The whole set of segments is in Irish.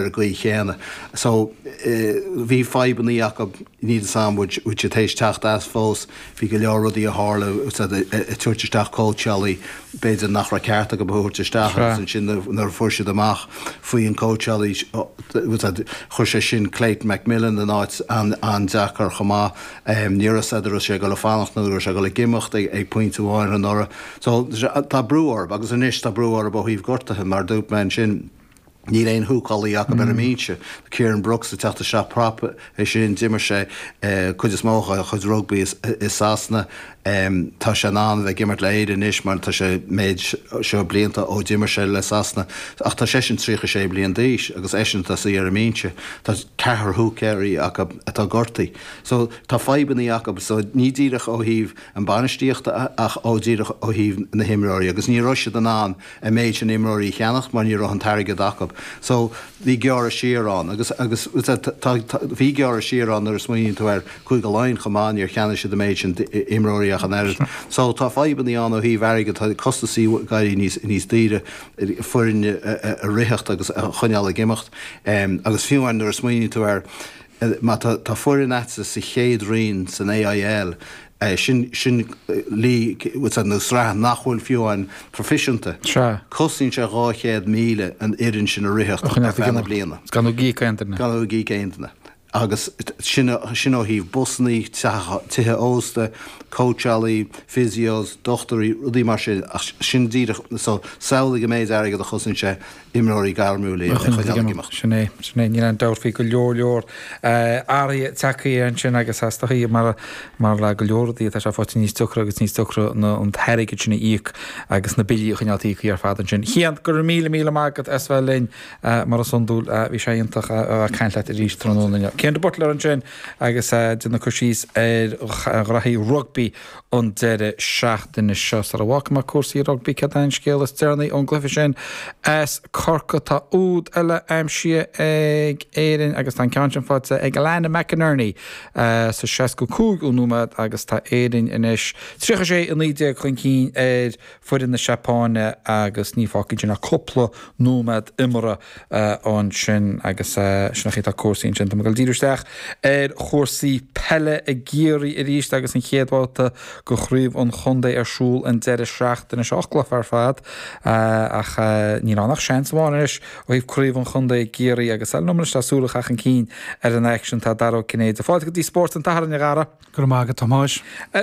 Ar an gcaoi chéanna. So, bhí fadhbannaí acu, níl 'fhios a'm bhfuil bhfuil siad théis teacht as fós, bhí go leor rudaí a tharla, ag tabhairt isteach cóitseálaí, b'fhéidir nach raibh ceart acu a thabhairt isteach agus ansin nuair a fuair siad amach faoi an cóitseálaí, chuir sé sin Clayton McMillan in áit an-deacair chomh maith. Ní raibh 'fhios a'd an raibh sé ag dul a fanacht nó an raibh sé ag dul ag imeacht ag pointe amháin anuraidh. So, tá brú orthu agus anois tá brú orthu ó thaobh gortaithe mar dúirt mé ansin. Níl aon húcálaí acu ar an mbinse. Kieran Brooks ag teacht isteach prop é sin, d'imir sé cuid is mó dá chuid rugbaí i Sasana. Tá sé in ann a bheith ag imirt le Éire anois mar tá sé méid seo blianta ó d'imir sé le Sasana. Ach tá seisean 36 bliain d'aois agus eisean atá suí ar an mbinse. Tá ceathrar húcéirí acu atá gortaithe. So tá fadhbannaí acu. So ní díreach ó thaobh an bainistíochta ach ó díreach ó thaobh na himreoirí agus ní raibh siad in ann an méid sin imreoirí a cheannach mar ní raibh an t-airgead acu. So bhí gearradh siar ann agus agus tá bhí gearradh siar ann nuair a smaoiníonn tú ar Cúige Laighean chomh maith, níor cheannaigh siad an méid sin imreoirí ach an oiread. So tá fadhbannaí ann ó thaobh airgid, tá costasaí ag éirí níos níos daoire foireann a ritheacht agus a choinneáil ag imeacht. Agus fiú amháin nuair a smaoiníonn tú air má tá tá foireann a'dsa sa chéad roinn san AIL, Sin, sin league, nó sraith nach bhfuil fiú amháin proifisiúnta. Sea. Cosnaíonn sé 200,000 an fhoireann sin a ritheacht ar feadh na bliana. Gan ag íoc aon duine. Gan ag íoc aon duine. Agus sin, sin ó thaobh busannaí, tithe ósta, cóitseálaí, physios, dochtúirí, rudaí mar sin. Ach sin díreach, so samhlaigh an méid airgid a chosnaíonn sé imreoirí gairmiúla a choinneáil ag imeacht. Sin é, sin é. Níl aon dabht faoi go leor leor athruithe tagtha ansin agus is dóichí mar mar le go leor rudaí atá sé faighte níos deacra agus níos deacra na an t-airgead sin a íoc agus na billí a choinneáil íoctha ar fad ansin. Cian, go raibh míle míle maith agat as bheith linn mar is iondúil. Bhí sé iontach a bheith ag caint leat arís tráthnóna inniu. Cian de Buitléar ansin agus déanamh cur síos ar ghraithí rugbaí an deireadh seachtaine seo. Sara bhfágfaidh mé cúrsaí rugbaí, céard é an scéal is deireanaí ón gcluiche sin as Corcaigh? Tá úd eile aimsithe ag Éirinn agus tá an ceann sin faighte ag Alannah McInerney sa 65ú nóiméad agus tá Éirinn anois 36, 19 chun cinn ar foireann na Seapáine agus ní fágfaidh sin ach cúpla nóiméad imeartha ansin agus sin an chaoi atá cúrsaí ansin. Tá mé ag dul díriú isteach ar chúrsaí peile i gCiarraí arís agus an chéad bhabhta de chraobh an chontae ar siúl an deireadh seachtaine seo. 8 gcluiche ar fad ach níl ann ach seans amháin anois ó thaobh craobh an chontae i gCiarraí agus liom anois le súil a chaitheamh chun cinn ar an aicsean tá Dara Ó Cinnéide. Fáilte go dtí Spórt an tSathairn, a Dhara. Go raibh maith agat, a Thomáis.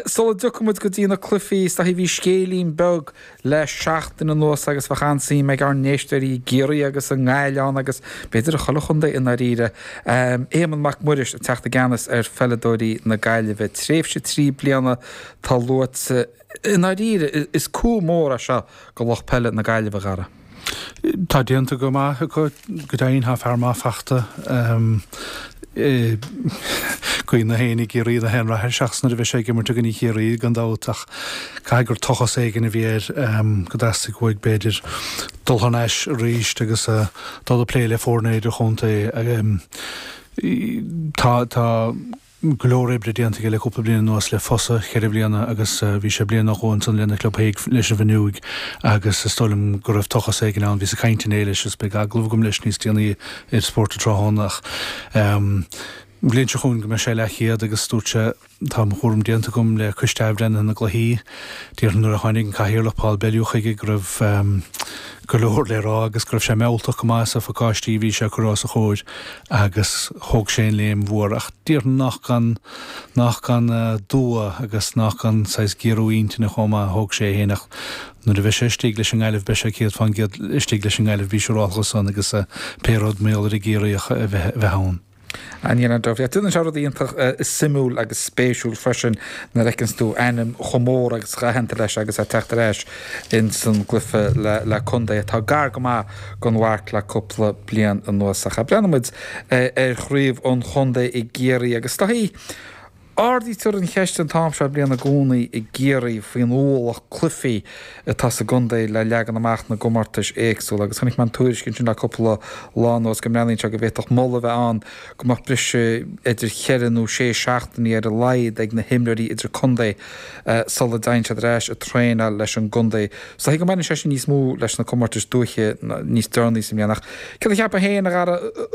Sula dtiocfaidh muid go dtí na cluichí, is dóichí bhí scéilín beag le seachtain anuas agus bheadh an-suim ag ár n-éisteoirí i gCiarraí agus i nGaillimh agus b'fhéidir i chuile chontae i ndáiríre, Éamonn Mac Muiris ag teacht i gceannas ar pheileadóirí na Gaillimhe. Tréimhse 3 bliana atá luaite. I ndáiríre, is coup mór é seo do lucht peile na Gaillimhe, a Dhara. Tá déanta go maith acu, go deimhin, tá fear maith fachta i gcroí gach éinne i gCiarraí ina haon rath air, seachas nuair a bheidh sé ag imirt i gcoinne Chiarraí, gan dabht, ach caithfidh gur tochas éigin a bhí air go dteastaigh uaidh, b'fhéidir, dul thar n-ais arís agus dul ag plé le foirne idirchontae. Tá, tá. go leor oibre déanta aige le cúpla bliain anuas le Fosa, cheithre bliana agus bhí sé bliain nó dhó ansan lena chlub féin leis an bhFionnúig agus is dóigh liom go raibh tochas éigin ann. Bhíos ag caint inné leis agus beidh agallamh agam leis níos déanaí ar Spórt an Tráthnóna ach an bhliain seo chugainn go mbeidh sé leathchéad agus dúirt sé tá mo chúram déanta agam le Coiste Athbhreithnithe na gCluichí. Déarfainn nuair a tháinig an Cathaoirleach Paul Bellew chuige go raibh go leor le rá agus go raibh sé mealltach go maith sa phacáistí a bhí sé ag cur os a chomhair agus thóg sé an léim mhór ach déarfainn nach gan, nach gan dua agus nach gan saghas géarú intinne chomh maith a thóg sé é féin ach nuair a bheidh sé istigh leis an nGaillimh beidh sé 100% istigh leis an nGaillimh bí siúrálta san agus pé rud mar gheall ar an gCiarraíoch a bheith ann. Níl aon dabht. Déanann sé rud iontach suimiúil agus spéisiúil freisin nuair a fheiceanns tú ainm chomh mór agus chomh haitheanta leis agus é ag teacht ar ais ins an gcluiche le contae atá gar go maith don mharc le cúpla bliain anuas. Ach breathnóidh muid ar chraobh an chontae i gCiarraí agus is dóichí. Ardaítear an cheist an t-am seo bliana i gcónaí i gCiarraí faoin ualach cluichí atá sa gcontae le leagan amach na gcomórtais éagsúla agus chonaic mé an tuairisc ansin le cúpla lá anuas go mbreathnaíonn sé go bhféadfadh moladh a bheith ann go mbeadh briseadh idir cheithre nó sé seachtainí ar a laghad ag na himreoirí idirchontae sula dtéann siad ar ais ag traenáil leis an gcontae. So thuig go mbaineann sé sin níos mó leis na comórtais dúiche níos deireanaí sa mbliain ach céard a cheapfá féin, a Dhara?